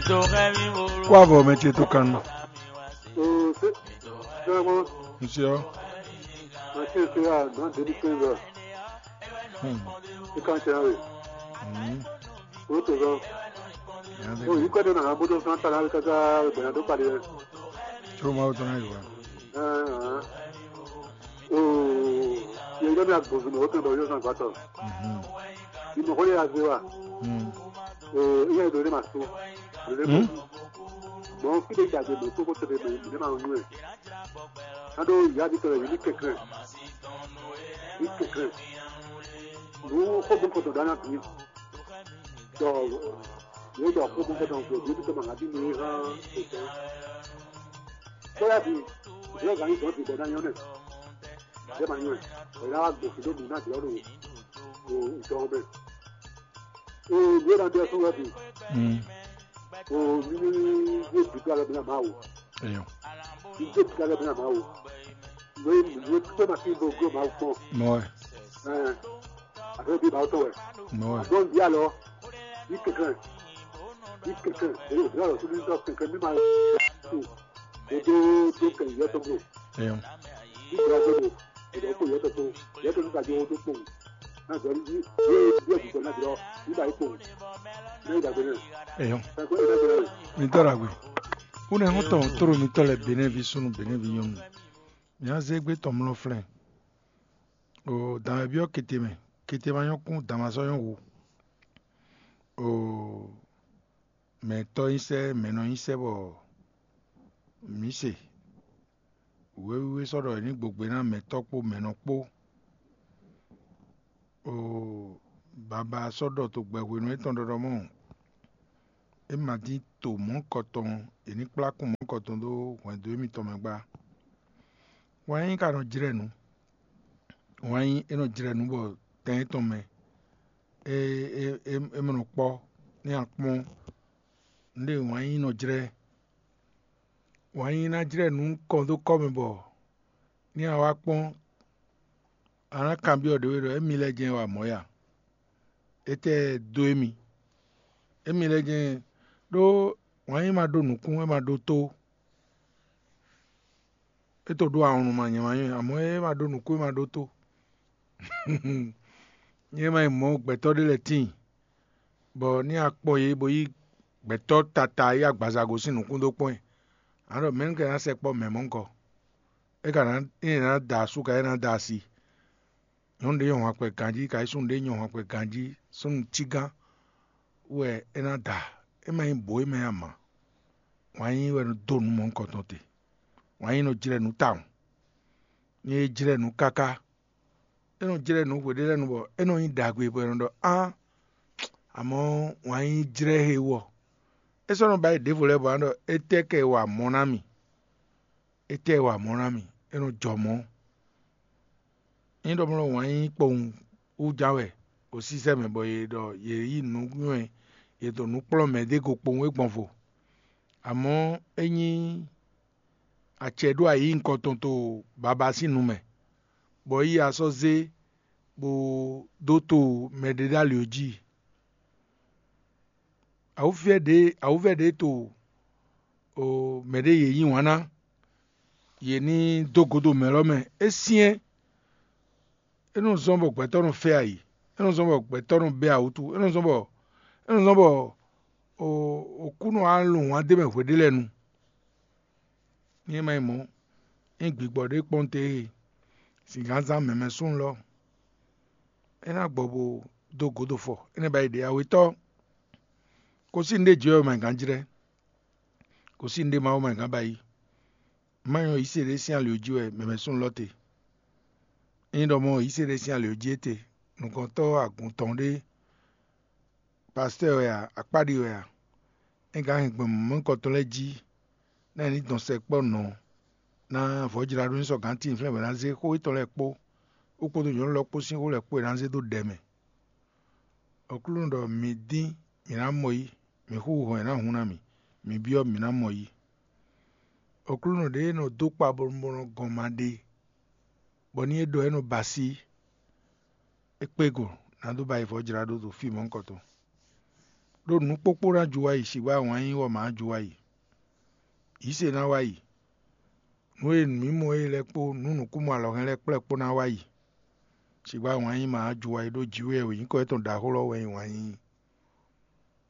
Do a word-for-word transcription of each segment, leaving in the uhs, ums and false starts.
Kó avɔ mɛ ce tó kan nu. Oo, c'est vraiment, monsieur. Monsieur, c'est à dans deux mille quinze. Hmm. C'est quand tu as eu. Hmm. Autre chose. Bon, il connaît dans la boue de son talent, quand ça, dans le palais. Tso Mawu tɔn na yi wa. Hein, hein. Oo, yɛ yɛ mi agbɔnzun mɛ o tɛn bɔ yɔ zan gbatɔ. Imɔgɔ yɛ azé wa. Oo, iye do ne ma so. Do ne ma so. Mɔ fi de dade mɛ koko tebe mɛ mi ne ma nyuɛ. Ado ya di tɔlɛ yi ni kɛkɛ. Ni kɛkɛ. Nu xo bɔ kɔtɔ dana bi. Dɔ yɛ dɔ xo bɔ kɔtɔ bi bi tɔ ma na bi ni ha. Kódà bí ìwé ọ̀gá yìí sọ̀rọ̀ ti bẹ̀rẹ̀ náà yán náà, ìjẹ́ màá yán ẹ̀, ẹ̀rọ àwọn gbèsè ló mú náà jẹ́ ọ̀rọ̀ ìjọ ọbẹ̀. Ìwé náà bí ọtún rẹ̀ bì, ní ní ní ìdúgbò alẹ́ bí náà máa wò, Eyo. Ní ìdúgbò alẹ́ bí náà máa wò, ìwé ìwé pípẹ́ máa fi gbogbo máa pọ̀. Mɔɛ. Àbẹ́ bí máa tọ̀ wẹ̀. Mɔɛ. Àbọ̀ ń bí àlọ́, bí kẹ̀kẹ́, bí kẹ̀kẹ́, èyí ò bí àlọ́ tó ní sọ kẹ̀kẹ́ bí máa tó. Dodo do kɛ yɛ tɔn blo. Eyo. Ibrahim blo. Ibrahim ko yɛ tɔn to. Yɛ tɔn ka jo do kpo. Na jɔ ni ye ye bi ko na jɔ. Ibrahim ko. Na Ibrahim ne. Eyo. Ka ko na jɔ. Mi tɔ la gbe. Une ho tɔn toro mi tɔ lɛ Benin vi sunu Benin vi nyɔnu. Mi a ze gbe tɔn mlɔ flɛ. O dan bi o kete mɛ. Kete ma nyɔ kun dan ma sɔ nyɔ wu. O mɛ tɔ́ nyí sɛ́, mɛ nɔ nyí sɛ́ bɔ mǐ se. Wěwé sɔ́ ɖɔ è ní gbogbe ná mɛ tɔ́ kpó mɛ nɔ kpó. Oo, baba sɔ́ ɖɔ to gbɛhwenu étɔn ɖɔɖɔ mɔ́, é ma dín to mɔ̌kɔtɔn, è ní kplá kún mɔ̌kɔtɔn dó hwɛndo émítɔn mɛ gbá. Wǎn yíyí ka nɔ jlɛ́ nǔ. Wǎn yíyí é nɔ jlɛ́ nǔ bɔ tɛn étɔn mɛ é é é é mɔ nɔ kpɔ́, ní a kpɔ́n nǔɖé wǎn yíyí nɔ jlɛ́. Wǎn yíyí ná jlɛ́ nǔ kɔn dó kɔ́ mɛ bɔ ní a wá kpɔ́n, a nǎ kanbyɔ́ ɖě we ɖɔ émi lɛ́ɛ jɛ́n wa mɔ̌ ya? Étɛ́ dó émi? Émi lɛ́ɛ jɛ́n ɖó wǎn yíyí ma ɖó nǔkún, é ma ɖó tó. É to ɖó awɔnnu ma nyɛ ma nyɛ, amɔ̌ é ma ɖó nǔkún, é ma ɖó tó. Nyɛ ma nyí mɔ̌ gbɛtɔ́ ɖé lɛ́ɛ tíin, bɔ ní a kpɔ́n yě bó yí gbɛtɔ́ tata yí agbaza gosín nǔkún dó kpɔ́n ɛ. A ɖɔ mɛ̌ un ka ná sɛkpɔ́ mɛ mɔ̌hunkɔ? É ka ná é ná da asú ka é ná da asi. Nyɔ̌nu ɖé nyɔ hwankpɛ ganjí, ka yí súnnu ɖé nyɔ hwankpɛ ganjí, súnnu cígán wɛ é ná da. É ma nyí bǒ é mɛ ama. Wǎn yíyí wɛ nɔ dó nǔ mɔ̌hunkɔtɔn te. Wǎn yíyí nɔ jlɛ́ nǔ tawun. Ní é jlɛ́ nǔ káká, é nɔ jlɛ́ nǔ hweɖé lɛ́ɛ nu bɔ é nɔ nyí ɖagbe bɔ è nɔ ɖɔ á, amɔ̌ wǎn yíyí jlɛ́ he wɔ. É sɔ́ nɔ ba yi ɖěvo lɛ́ɛ bɔ a nɔ ɖɔ étɛ́ kɛ wa mɔ ná mì? Étɛ́ wa mɔ ná mì? É nɔ jɔ mɔ̌. Nyí ɖɔ mlɔ́ wǎn yíyí kpowun wú ján wɛ ɖo sísɛ́ mɛ bɔ yě ɖɔ yě yí nǔ nywɛ́, yě ɖo nǔ kplɔ́n mɛ ɖé go kpowun é gbɔn vo. Amɔ̌ é nyí acɛ ɖó ayǐ nukɔntɔn to baba sín nu mɛ, bɔ é yi asɔ́ zé bó dó to mɛɖeɖálio jí. Awǔvɛ́ ɖě awǔvɛ́ ɖě to mɛɖé yě yí wǎn ná, yě ní dó godo mɛ lɔ́ mɛ. É syɛ́n, é nɔ zɔ́n bɔ gbɛtɔ́ nɔ fɛ ayǐ, é nɔ zɔ́n bɔ gbɛtɔ́ nɔ bɛ́ awǔtu, é nɔ zɔ́n bɔ é nɔ zɔ́n bɔ Okúnɔ wá lun wǎn d'é mɛ hweɖé lɛ́ɛ nu. Ní é ma nyí mɔ̌, ényí gbigbɔ ɖé kpɔ́n te e, zǐngánzán mɛmɛ súnnu lɔ, é ná gbɔ bó dó gǒdo fɔ, énɛ́ ba yi ɖě awetɔ́. Kosín ɖé jǐ wɛ ma gǎn jlɛ́, kosín ɖé Mawu ma gǎn ba yi. Má nyɔ́ yǐ se ɖé sín ali jí wɛ mɛmɛ súnnu lɔ te. Ényí ɖɔ mɔ yǐ se ɖé sín ali jí éte, nukɔntɔ́ agun tɔn ɖé, pastɛ́ɛ wɛ a, akpáɖi wɛ a, é gǎn hɛn gbɔn mɔ̌hunkɔtɔn lɛ́ɛ jí, ná è ní dɔn sɛkpɔ́ nɔ ná vɔ̌jlá ɖó ní sɔ́ gǎn tíin flɛ́n bɔ è nǎ zé xó étɔn lɛ́ɛ kpó, bó kpódó nyɔ̌nu lɛ́ɛ kpó sín xó lɛ́ɛ kpó è nǎ zé dó ɖɛ mɛ. Aklúnɔ ɖɔ: "Mǐ dín, mǐ ná mɔ yí; mǐ xúxú hɔn, è nǎ hun ná mì; mǐ byɔ́, mǐ ná mɔ yí." Aklúnɔ ɖě e nɔ dó kpa bɔ nɔ gɔn ma ɖe, bɔ ní é ɖɔ é nɔ ba así, é kpé go ná dó ba yi vɔ̌ jlá ɖó ɖo fí mɔ̌hunkɔtɔn. Ɖó nǔ kpókpó ná ju wá yi, sixú awǎn yí wɔ mǎ ju wá yi. Yǐ se ná wá yi. Nǔ e mǐ mɔ é lɛ́ɛ kpó nǔ nǔkúnmɔ alɔhɛn lɛ́ɛ kplɛ́ kpó ná wá yi. Sixú awǎn yí mǎ ju wá yi ɖó jǐ wɛ wěnyíkɔ tɔn ɖaxó lɔ wɛ nyí wǎn yí.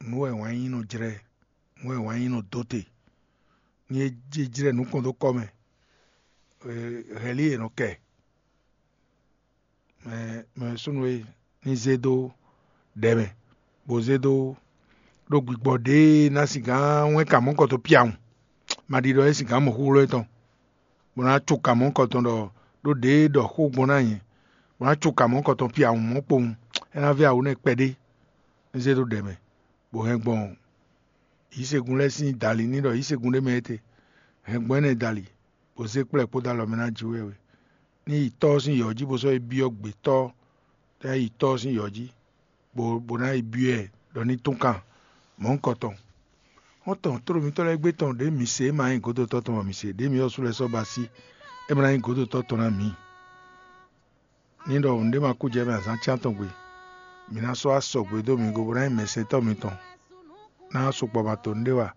Nǔ wɛ wǎn yí nɔ jlɛ́, nǔ wɛ wǎn yí nɔ dó te. Ní é jé jlɛ́ nǔ kɔn dó kɔ mɛ, hɛ̌lí è nɔ kɛ. Mɛ súnnu e ní zé dó ɖɛ mɛ, bó zé dó ɖó gbigbɔ ɖěe ná singán wɛn ka mɔ̌ kɔtɔn piawun, ma ɖi ɖɔ é singán mɔ xúxlɔ́ tɔn, bó ná tso ka mɔ̌ kɔtɔn ɖɔ ɖó ɖěe ɖɔ xó gbɔn ná nyɛ, bó ná tso ka mɔ̌ kɔtɔn piawun mɔ̌ kpowun, é ná vɛ́ awu nɛ́ kpɛɖé, ní zé dó ɖɛ mɛ, bó hɛn gbɔn yǐsegun lɛ́ɛ sín dali ní ɖɔ yǐsegun ɖé mɛ étɛ́, hɛn gbɔn énɛ́ dali, bó zé kplɛ́ kpódó alɔ mɛ ná jǐ wɛ wɛ. Ní yi tɔ́ ɔ́ sín yɔ̌ jí bó sɔ́ yi byɔ́ gbětɔ́, tɛ́ yi tɔ́ ɔ́ sín yɔ̌ jí, bó bó ná yi byɔ́ ɛ ɖɔ ní tún kan mɔ̌hunkɔ tɔn. Xɔ́ntɔn tlóló mitɔ́ lɛ́ɛ gbé tɔn ɖě mǐ se é ma nyí gǒdotɔ́ tɔn bɔ mǐ se ɖě mǐ ɔ́ sú lɛ́ɛ sɔ́ ba sí, é ma ná nyí gǒdotɔ́ tɔn ná mǐ. Ní ɖɔ nǔɖé ma kú jɛ mɛ azǎn cyán tɔn gbe. Mǐ ná sɔ́ wá sɔgbe dó mi go bó ná nyí mɛsɛntɔ́ mitɔn. Ná sukpɔ́ ma to nǔɖé wa,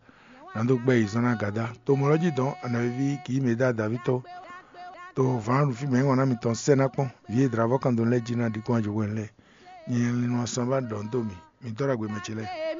ná dó gbɛ́ yi zɔ́n ná gǎdá. To mɔ̌ lɔ́ jí dɔn anɔ̌ví kǐ yí mɛ dá Daví tó. To vǎn ɖu fí mɛ nyí wan ná mitɔn sɛ́ ná kpɔ́n. Vǐ e dlǎvɔ́ kan dó lɛ́ɛ jí ná ɖi kpɔ́n ajo hwenu lɛ́ɛ. Nyɛ lin nɔ sanvá ɖɔ nǔ dó mi. Mi dɔ́ ɖagbe mɛ ce lɛ́ɛ.